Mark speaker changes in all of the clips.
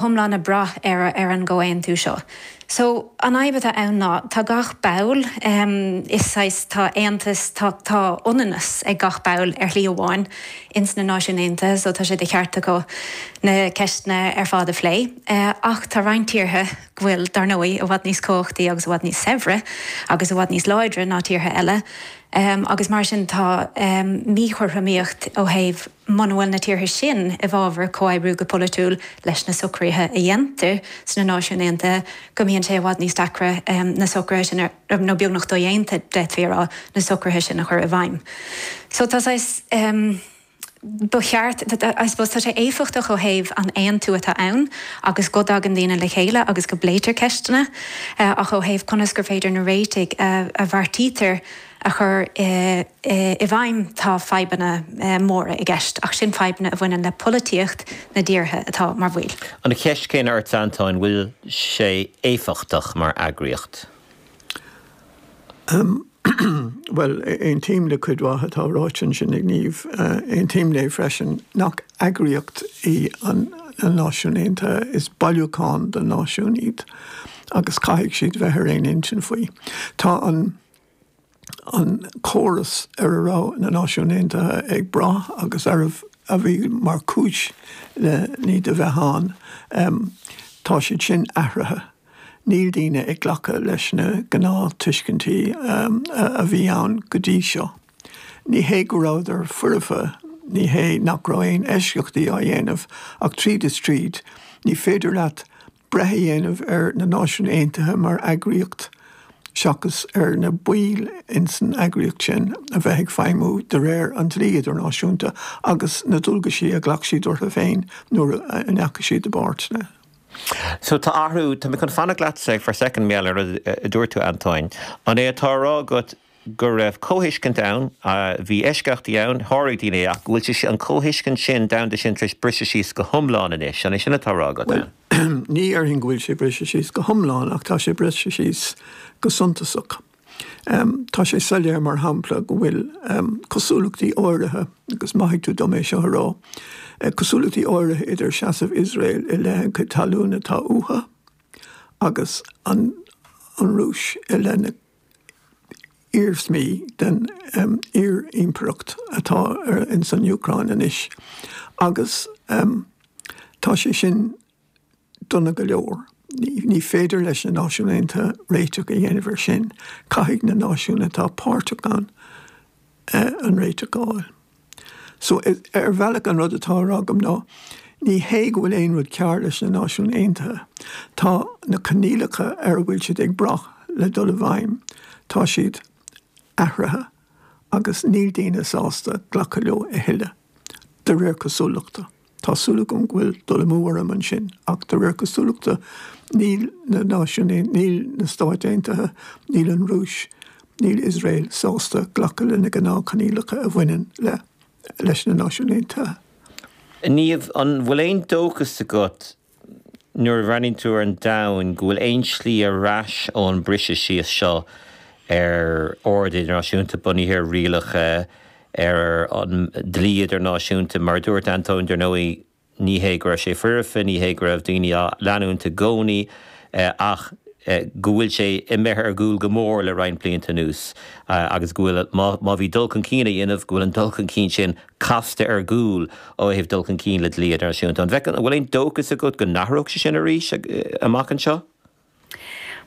Speaker 1: Hiomlán ag brath ar ar an gcomhaontú seo. So, an fhadhb atá ann ná, tá gach ball, is saghas, tá aontas, tá, tá ionannas ag gach ball ar shlí amháin ins na Náisiúin Aontaithe, so tá sé de cheart acu na ceisteanna ar fad a phlé. Ach tá roinnt tíortha go bhfuil, dar ndóigh, i bhfad níos cumhachtaí agus i bhfad níos saibhre agus i bhfad níos láidre ná tíortha eile, agus mar sin tá míchothromaíocht ó thaobh, Muna bhfuil na tíortha sin i bhfabhar comhoibriú go polaitiúil leis na socruithe a dhéantar sna Náisiúin Aontaithe, go mbíonn sé i bhfad níos deacra na socruithe sin, nó beagnach dodhéanta, d'fhéadfaí a rá, na socruithe sin a chur i bhfeidhm. So tá saghas, ba cheart, I suppose, tá sé éifeachtach ó thaobh an aontú atá ann agus go dtagann daoine le chéile agus go bpléitear ceisteanna, ach ó thaobh conas gur féidir na réitigh a bheartaítear a chur i bhfeidhm, tá fadhbanna móra i gceist, ach sin fadhbanna a bhaineann le polaitíocht na dtíortha atá mar bhaill.
Speaker 2: An cheist chéanna ort, Antóin, bhfuil sé éifeachtach mar eagraíocht?
Speaker 3: Bhuel, aontaím le cuid mhaith atá ráite ansin ag Niamh. Aontaím léi freisin nach eagraíocht í an na Náisiúin Aontaithe, is bailiúchán de náisiúin iad agus caithfidh siad bheith ar aon intinn faoi. Tá an. an córas ar a raibh na Náisiúin Aontaithe ag brath agus arbh a bhí mar chúis le n-iad a bheith ann, tá siad sin athraithe. Níl daoine ag glacadh leis na gnáth-tuiscintí a bhí ann go dtí seo. Ní hé go rabhadar foirfe, ní hé nach raibh aon eisceachtaí á dhéanamh, ach tríd is tríd, ní féidir leat breith a dhéanamh ar na Náisiúin Aontaithe mar eagraíocht seachas ar na baill ins an eagraíocht sin a bheith ag feidhmiú de réir an dlí idirnáisiúnta agus na dualgaisí a ghlac siad orthu féin nuair a ndeachaigh siad i bpáirt le.
Speaker 2: So tá athrú, tá mé chun fanacht leatsa for a second mar gheall ar rud a dúirt tú Antóin. An é atá á rá agat go raibh comhthuiscint ann, bhí eisceachtaí ann, sháraigh daoine é, ach go bhfuil sé, an comhthuiscint sin, domhanda sin, tar éis briseadh síos go hiomlán anois. An é sin atá á rá agat?
Speaker 3: Bhuel, ní dhéarfainn go bhfuil sé briste síos go hiomlán ach tá sé briste síos go suntasach. Tá sé soiléir, mar shampla, go bhfuil cosúlachtaí áirithe, agus maithfidh tú dom é seo a rá, cosúlachtaí áirithe idir seasamh Iosrael i leith an chuid talún atá uathu agus an Rúis i leith na iarsmaí den iar-impireacht atá ins an Úcráin anois agus tá sé sin dona go leor. Ní féidir leis na Náisiúin Aontaithe réiteach a dhéanamh ar sin, caithfidh na náisiúin atá páirteach ann an réiteach a fháil. So, ar bhealach an rud atá á rá agam ná, ní hé go bhfuil aon rud cearr leis na Náisiúin Aontaithe, tá na coinníollacha ar a bhfuil siad ag brath le dul i bhfeidhm, tá siad athraithe agus níl daoine sásta glacadh leo a thuilleadh, de réir cosúlachta. Tá súil agam go bhfuil dul amú orm ansin, ach de réir cosúlachta níl na Náisiúin, níl na Stáit Aontaithe, níl an Rúis, níl Iosrael sásta glacadh le na gnáthchoinníollacha a bhaineann le leis na Náisiúin Aontaithe.
Speaker 2: Niamh, an bhfuil aon dóchas agat nuair a bhreathnaíonn tú ar an domhan go bhfuil aon slí ar ais ón briseadh síos seo ar ord idirnáisiúnta bunaithe ar rialacha, ar an dlí idirnáisiúnta. Mar a dúirt Antóin, dar ndóigh, ní hé go raibh sé foirfe, ní hé go raibh daoine á leanúint i gcónaí ach go bhfuil sé imithe ar gcúl go mór le roinnt blianta anuas agus go bhfuil, má bhí dul chun cinn á dhéanamh, go bhfuil an dul chun cinn sin casta ar gcúl ó thaobh dul chun cinn le dlí idirnáisiúnta. An bhfeiceann, an bhfuil aon dóchas agat go n-athródh sé sin arís amach anseo?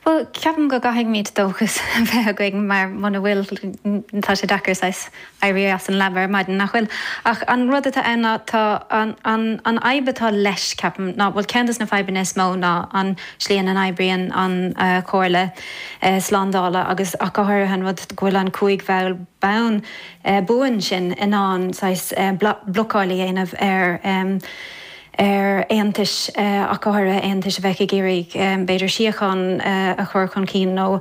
Speaker 1: Bhuel, ceapaim go gcaithfimid dóchas a bheith againn mar muna bhfuil, tá sé deacair saghas éirí as an leaba ar maidin, nach bhfuil? Ach an rud atá ann ná tá an, an, an fhadhb atá leis, ceapaim, ná, bhuel, ceann de na fadhbanna is mó ná an slí ina n-oibríonn an Chomhairle Slándála agus ach go háirithe an rud go bhfuil an cúig bhall bonn, buan sin in ann saghas blocáil a dhéanamh ar ar aontais, ach go háirithe aontais a bheadh ag iarraidh b'fhéidir síocháin a chur chun cinn nó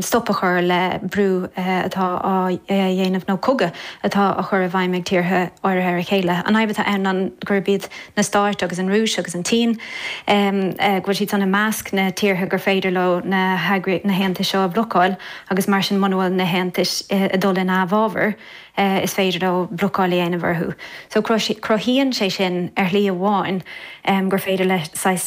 Speaker 1: stop a chur le brú atá á dhéanamh nó cogadh atá á chur i bhfeidhm ag tíortha áirithe ar a chéile. An fhadhb atá ann ná gurb iad na Stáit agus an Rúis agus an tSín, go bhfuil siad san i measc na tíortha gur féidir leo na haontais seo a bhlocáil agus mar sin muna bhfuil na haontais ag dul ina bhfabhar. Is féidir leo blocáil a dhéanamh orthu. So cruthaíonn sé sin ar shlí amháin gur féidir le saghas.